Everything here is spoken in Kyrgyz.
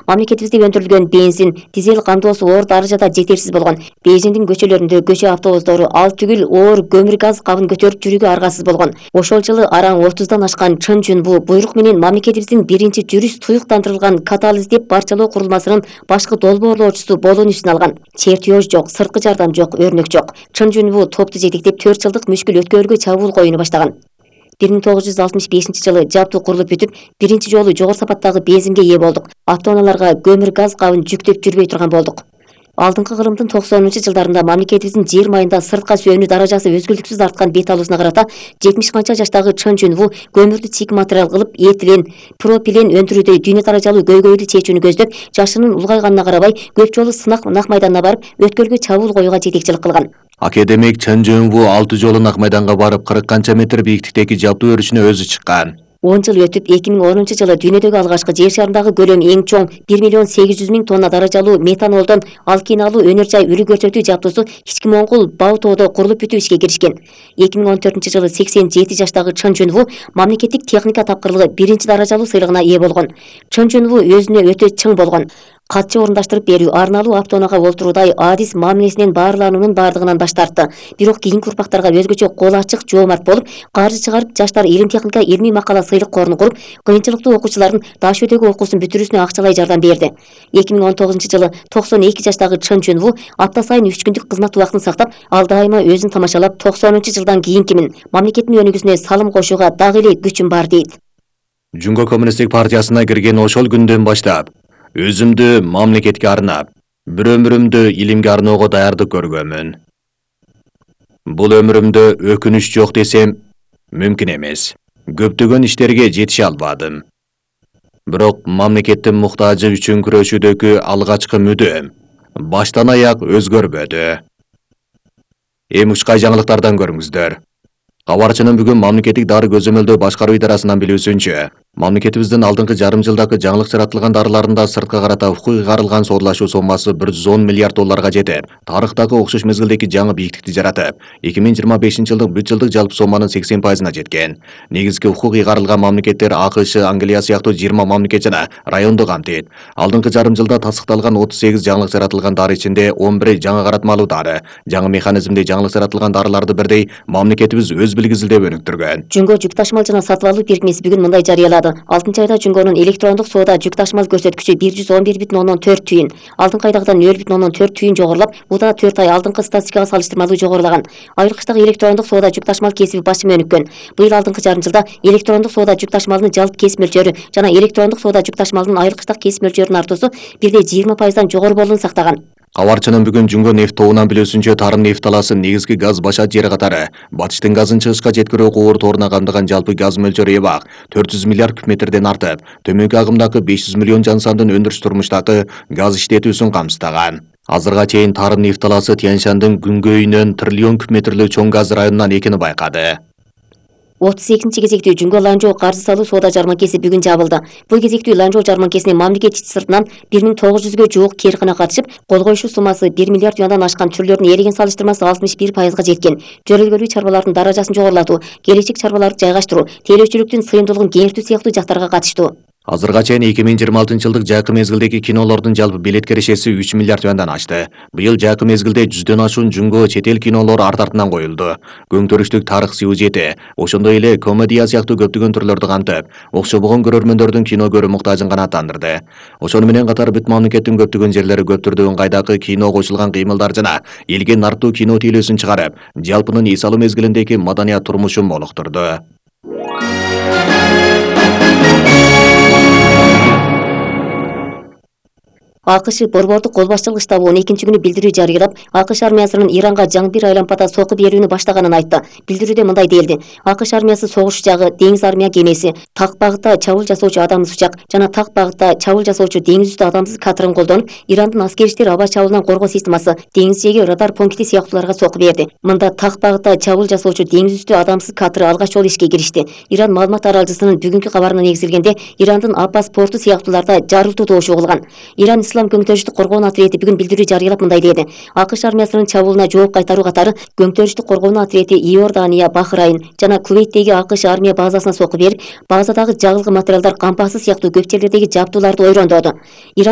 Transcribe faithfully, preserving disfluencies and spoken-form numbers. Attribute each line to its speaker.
Speaker 1: Мамлекетибизде өндүрүлгөн бензин, дизель камдоосу оор даражада жетерсиз болгон. Бейжиңдин көчөлөрүндө көчө автобустары ал түгүл оор көмүр газ кабын көтөрүп жүрүүгө аргасыз болгон. Ошол жылы араң отуздан ашкан Чын Жунву буйрук менен мамлекетибиздин биринчи жүрүш туюктандырылган катал издеп барчалоо курулмасынын башкы долбоорлоочусу болууну үстүнө алган. Чертеж жок, сырткы жардам жок, өрнөк жок. Чын Жунву топту жетектеп төрт жылдык мүшкүл өткөрүүгө чабуул коюуну баштаган. бир миң тогуз жүз алтымыш бешинчи жылы жабдуу курулуп бүтүп, биринчи жолу жогору сапаттагы бензинге ээ болдук. Автоунааларга көмүр газ кабын жүктөп жүрбөй турган болдук. Алдыңкы кылымдын токсонунчу жылдарында мамлекетибиздин жер майында сыртка сүйөнүү даражасы өзгөлтүксүз арткан бет алуусуна карата жетимиш канча жаштагы Чын Жунву көмүрдү чийик материал кылып, этилен, пропилен өндүрүүдө дүйнө даражалуу көйгөйлүү чечүүнү көздөп, жашынын улгайганына карабай көп жолу сынак нак майданына барып, өткөлгө чабуул коюуга жетекчилик кылган.
Speaker 2: Академик Чын Жунву алты жолу нак майданга барып, кырк канча метр бийиктиктеги жабдуу өрүшүнө өзү чыккан.
Speaker 1: он жыл өтүп, эки миң онунчу жылы дүйнөдөгү алгачкы жер шарындагы көлөмү эң чоң бир миллион сегиз жүз миң тонна даражалуу метанолдон алкиналуу өнөр жай үлү көрсөтүү жабдуусу ички Моңгол Бау тоодо курулуп бүтүп ишке киришкен. эки миң он төртүнчү жылы сексен жети жаштагы Чын Жунву мамлекеттик техника тапкырлыгы биринчи даражалуу сыйлыгына ээ болгон. Чын Жунву өзүнө өтө чың болгон. Катчы орундаштырып берүү, арналуу автоунаага олтуруудай адис мамилесинен баарлануунун бардыгынан баш тартты. Бирок кийинки урпактарга өзгөчө кол ачык, жоомарт болуп, каржы чыгарып, жаштар илим техника илмий макала сыйлык корун куруп, кыйынчылыктуу окуучулардын даш өтөгү окуусун бүтүрүүсүнө акчалай жардам берди. эки миң он тогузунчу жылы токсон эки жаштагы Чын Жунву апта сайын үч күндүк кызмат убактын сактап, ал дайыма өзүн тамашалап, токсонунчу жылдан кийинкимин, мамлекеттин өнүгүүсүнө салым кошууга дагы эле күчүм бар дейт.
Speaker 2: Жунго коммунисттик партиясына кирген ошол күндөн баштап өзүмдү мамлекетке арнап, бир өмүрүмдү илимге арноого даярдык көргөмүн. Бул өмүрүмдө өкүнүч жок десем мүмкүн эмес. Көптөгөн иштерге жетише албадым. Бирок мамлекеттин муктажы үчүн күрөшүүдөгү алгачкы мүдөм баштан аяк өзгөрбөдү. Эң учкай жаңылыктардан көрүңүздөр. Кабарчынын бүгүн мамлекеттик дары көзөмөлдөө башкаруу идарасынан билүүсүнчө, мамлекетибиздин алдыңкы жарым жылдагы жаңылык жаратылган дарыларында сыртка карата укук ыйгарылган соодулашуу соммасы бир жүз он миллиард долларга жетип, тарыхтагы окшош мезгилдеги жаңы бийиктикти жаратып, эки миң жыйырма бешинчи жылдык бүт жылдык жалпы сомманын сексен пайызына жеткен. Негизги укук ыйгарылган мамлекеттер АКШ, Англия сыяктуу жыйырма мамлекет жана районду камтыйт. Алдыңкы жарым жылда тастыкталган отуз сегиз жаңылык жаратылган дары ичинде он бири жаңы каратмалуу дары, жаңы механизмде жаңылык жаратылган дарыларды бирдей мамлекетибиз өз билгизилдеп өнүктүргөн.
Speaker 1: Жунго жүк ташымал жана сатып алуу бирикмеси бүгүн мындай жарыялады. алтынчы айда Жунгонун электрондук соода жүк ташымал көрсөткүчү бир жүз он бир бүтүн ондон төрт түйүн, алдыңкы айдагыдан нөл бүтүн ондон төрт түйүн жогорулап, бул да төрт ай алдыңкы статистикага салыштырмалуу жогорулаган. Айрыкчтагы электрондук соода жүк ташымал кесиби басым өнүккөн. Быйыл алдыңкы жарым жылда электрондук соода жүк ташымалынын жалпы кесип мөлчөрү жана электрондук соода жүк ташымалынын айрыкчтак кесип мөлчөрүнүн артуусу бирдей жыйырма пайыздан жогору болууну сактаган.
Speaker 2: Кабарчынын бүгүн Жунго нефт тобунан билүүсүнчө, Тарын нефт талаасы негизги газ башат жери катары Батыштын газын чыгышка жеткирүү кубур торуна камтыган жалпы газ мөлчөрү эбак төрт жүз миллиард куб метрден артып, төмөнкү агымдагы беш жүз миллион жан сандын өндүрүш турмуштагы газ иштетүүсүн камсыздаган. Азырга чейин Тарын нефт талаасы Тянь-Шандын күнгөйүнөн триллион куб метрлүү чоң газ районунан экени байкады.
Speaker 1: отуз экинчи кезектүү Жунго Ланчжоу каржы салуу соода жарманкеси бүгүн жабылды. Бул кезектүү Ланчжоу жарманкесине мамлекет ичи сыртынан бир миң тогуз жүзгө жуук кээркана катышып, кол коюшу суммасы бир миллиард юандан ашкан түрлөрүн ээлеген салыштырмасы алтымыш бир пайызга жеткен. Жөрөлгөлүү чарбалардын даражасын жогорулатуу, келечек чарбаларды жайгаштыруу, тейлөөчүлүктүн сыйымдуулугун кеңейтүү сыяктуу жактарга катыштуу.
Speaker 2: Азырга чейин эки миң жыйырма алтынчы жылдык жакы мезгилдеги кинолордун жалпы билет кирешеси үч миллиард юандан ашты. Быйыл жакы мезгилде жүздөн ашуун Жунго чет эл кинолору арт артынан коюлду. Көңтөрүштүк тарых сюжети, ошондой эле комедия сыяктуу көптөгөн түрлөрдү камтып, окшобогон көрөрмөндөрдүн кино көрүү муктажын канааттандырды. Ошону менен катар бүт мамлекеттин көптөгөн жерлери көп түрдүү ыңгайдагы кино кошулган кыймылдар жана элге нарттуу кино тейлөөсүн чыгарып, жалпынын эс алуу мезгилиндеги маданият турмушун молуктурду.
Speaker 1: АКШ борбордук кол башчылык штабы он экинчи күнү билдирүү жарыялап, АКШ армиясынын Иранга жаңы бир айлампада сокку берүүнү баштаганын айтты. Билдирүүдө мындай делди: АКШ армиясы согуш учагы, деңиз армия кемеси, так багытта чабуул жасоочу адамсыз учак жана так багытта чабуул жасоочу деңиз үстү адамсыз катырын колдонуп, Ирандын аскери иштер аба чабуулунан коргоо системасы, деңиз жээги радар пункти сыяктууларга сокку берди. Мында так багытта чабуул жасоочу деңиз үстү адамсыз катыры алгач жолу ишке киришти. Иран маалымат таралчысынын бүгүнкү кабарына негизилгенде, Ирандын Аббас порту сыяктууларда жарылтуу добушу угулган. Иран Ислам көңтөрүштүк коргоонун ответи бүгүн билдирүү жарыялап мындай деди: АКШ армиясынын чабуулуна жооп кайтаруу катары көңтөрүштүк коргоонун ответи Иордания, Бахрайн жана Кувейттеги АКШ армия базасына сокку берип, базадагы жагылгы материалдар, кампасы сыяктуу көп жерлердеги жабдууларды ойрондоду.